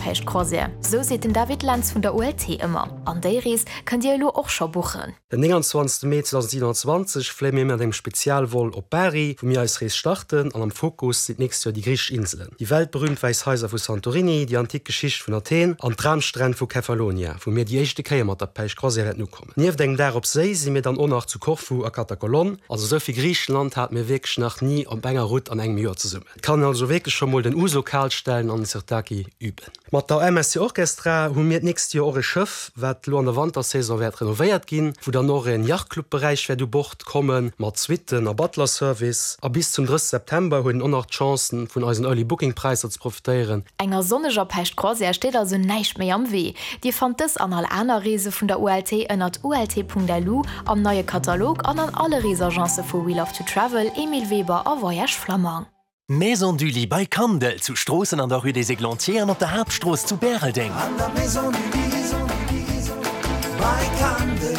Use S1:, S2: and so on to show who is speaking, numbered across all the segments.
S1: Päischt Croisière, sou seet den David Lentz vun der ULT ëmmer. An déi Rees kënnt Dir elo och scho buchen.
S2: Den 29 Mee 2027 fléie mir mat engem Spezialvol op Bari, wou mir eis Rees starten an am Fokus sinn d'nächst Joer déi griichesch Inselen, déi weltberüümt wäiss Haiser vu Santorini, déi antik Geschicht vun Athen an d'Dramstränn vu Kefalonia, wou mir déi éischte Kéier mat der Päischt Croisière wäerten ukommen. Nieft engem Dag op Séi si mir dann och nach zu Korfu a Katakolon. Also esou vill Griichenland hate mir wierklech nach ni op enger Route an engem Joer zesummen. Et kann een also wierklech scho mol den Ouzo kal stellen an den Sirtaki üben. Mat der MSC Orchestra hu mir d'nächst Joer och e Schëff, wat elo an der Wantersaison wäert renovéiert ginn, wou dann och en Yachtclub-Beräich wäert u Bord komme mat Suitten a Butler-Service. A bis zum 30 September huet een och nach d'Chance vun eisen Early Booking Präisser ze profitéieren.
S1: Enger sonneger Päischt-Croisière steet also näischt méi am Wee. Dir fannt dës an all aner Reese vun der ULT ënnert ult.lu, am neie Katalog an an alle Reesagence vu We Love to Travel, Emile Weber a Voyage Flammang.
S3: Maison du Lit bei Kandel, zu Stroossen an der Rue des Églantiers an op der Haaptstrooss zu Bäreldeng.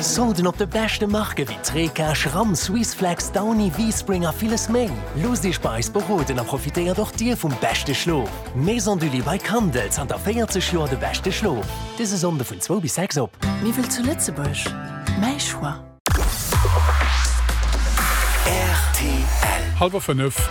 S3: Solden op de beschte Marke wéi Treca, Schramm, Swissflex, Downy, V-Spring a villes méi. Loosst Iech bei eis beroden a profitéiert och Dir vum beschte Schlof. Maison du Lit bei Kandel, zanter 40 Joer de beschte Schlof. Dëse Sonnde vun zwou bis 6 op.
S4: Miwwel zu Lëtzebuerg? Mäi Choix.
S5: Rtl. Hallwer 5.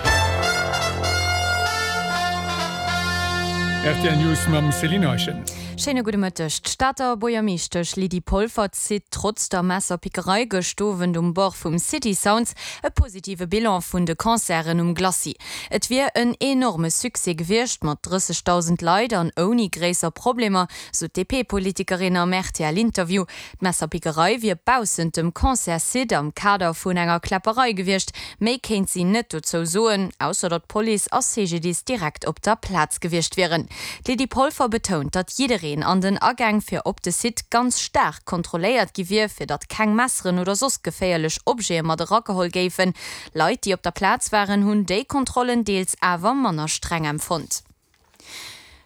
S5: Rtl News mam Céline Eischen.
S6: Schéine gudde Mëtteg. D'Stater Buergermeeschtesch Lydie Polfer zitt trotz der Messerpickerei gëscht Owend um Bord vum City Sounds e positive Bilan vun de Concerten um Glacis. Et wier en enorme Succès gewiescht, mat 30.000 Leit an ouni gréisser Problemer, sou d'DP-Politikerin am RTL-Interview. D'Messerpickerei wier baussent dem Concertssite am Kader vun enger Kläpperei gewiescht. Méi kéint si net dozou soen, ausser datt Police a CGDIS direkt op der Plaz gewiescht wieren. D'Lydie Polfer betount, datt jiddereen an den Agäng fir op de Site ganz staark kontrolléiert gi wier, fir datt keng Messeren oder soss geféierlech Objete mat erageholl géifen. Leit, déi op der Plaz waren, hunn déi Kontrollen deels awer manner streng empfonnt.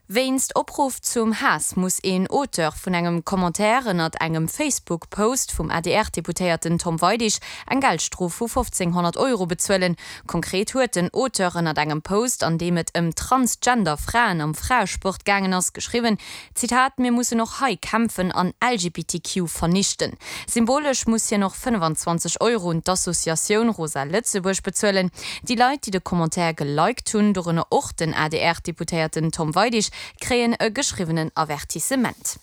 S6: Wéinst Opruff zum Haass muss een Auteur vun engem Commentaire ënnert engem Facebook-Post vum ADR-Deputéierten Tom Weidig eng Geldstrof vu 1.500 Euro bezuelen. Konkret huet den Auteur ënnert engem Post, an deem et ëm transgender Fraen am Fraesport gaangen ass, geschriwwen, Zitat, Mir mussen och hei kämpfen an LGBTQ vernichten. Symbolesch muss hien och 25 Euro un d'Associatioun Rosa Lëtzebuerg bezuelen. Déi Leit, déi de Commentaire geliked hunn, dorënner och den ADR-Deputéierten Tom Weidig, kréien e geschriwwenen Avertissement.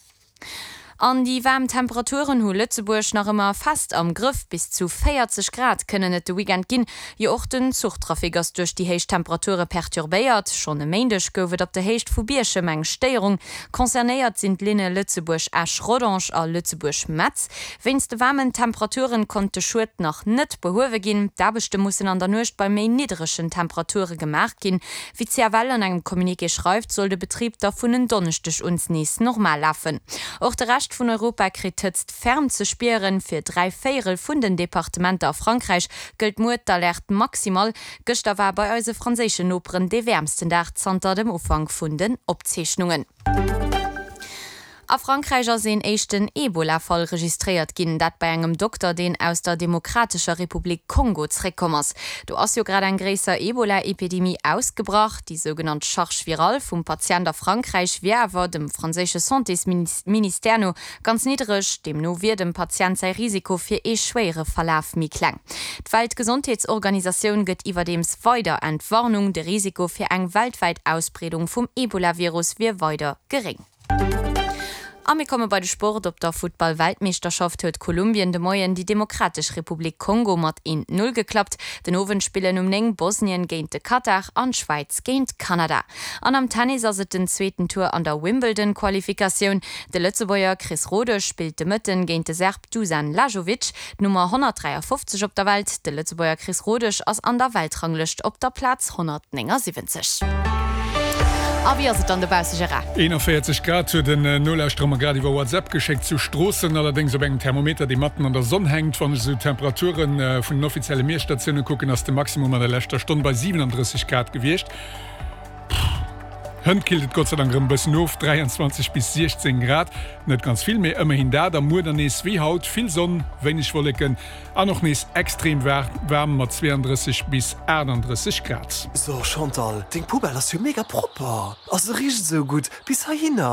S6: An déi waarm Temperaturen hu Lëtzebuerg nach ëmmer fest am Grëff. Bis zu 40 Grad kënnen et de Weekend ginn. Jo och den Zuchtrafic ass duerch déi héich Temperature perturbéiert. Schonn e Méindeg gouf et op der Héicht vu Bierchem eng Stéierung. Concernéiert sinn d'Linne Lëtzebuerg-Esch-Rodange a Lëtzebuerg-Metz. Wéinst de waarmen Temperaturen konnt de Schued nach net behuewe ginn. D'Aarbechte mussen an der Nuecht bei méi niddregen Temperature gemaach ginn. Wéi d'CFL an engem Communiqué schreift, soll de Betrib da vun en Donneschdeg un nees normal lafen. Och de Rescht vun Europa kritt d'Hëtzt ferm ze spieren. Fir 3 Véierel vun den Departementer a Frankräich gëllt muer d'Alerte maximale. Gëschter war bei eise franséischen Noperen dee wäermsten Dag zanter dem Ufank vun den Opzeechnungen. A Frankräich ass een éischten Ebola-Fall registréiert ginn, dat bei engem Dokter, deen aus der Demokratescher Republik Kongo zréckkomm ass. Do ass jo grad eng gréisser Ebola-Epidemie ausgebrach. Déi sougenannt Charge virale vum Patient a Frankräich wier awer, dem franséische Santésministère no, ganz niddreg. Deemno wier dem Patient säi Risiko fir ee schwéiere Verlaf méi kleng. D'Weltgesondheetsorganisatioun gëtt iwwerdeems weider Entwarnung, de Risiko fir eng weltwäit Ausbreedung vum Ebola-Virus wier weider geréng. A mir komme bei de Sport. Op der Futtball-Weltmeeschterschaft huet Kolumbien de Moien déi Demokratesch Republik Kongo mat 1, 0 geklappt. Den Owend spillen um 9 Bosnien géint de Katar an d'Schwäiz géint Kanada. An am Tennis ass et den zweeten Tour an der Wimbledon-Qualifikatioun. De Lëtzebuerger Chris Rodesch spillt de Mëtten géint de Serb Dusan Lajovic, d'Nummer 153 op der Welt. De Lëtzebuerger Chris Rodesch ass an der Weltranglëscht op der Plaz 179. A wéi ass et dann dobausse, Gérard?
S5: 41 Grad huet en Nolauschterer mer grad iwwer WhatsApp geschéckt zu Stroossen, allerdéngs op engem Thermometer, dee matten an der Sonn hänkt. Wann ech esou d'Temperature vun den offizielle Miesstatioune kucken, ass de Maximum an der leschter Stonn bei 37 Grad gewiescht. Hënt killt et Gott sei Dank erëm e bëssen of, 23 bis 16 Grad, net ganz vill, mee ëmmerhin dat. A muer dann nees wéi haut vill Sonn, wéineg Wolleken an och nees extrem waarm mat 32 bis 38 Grad.
S7: So Chantal, deng Poubelle ass jo mega propper a se richt esou gutt bis heihinner.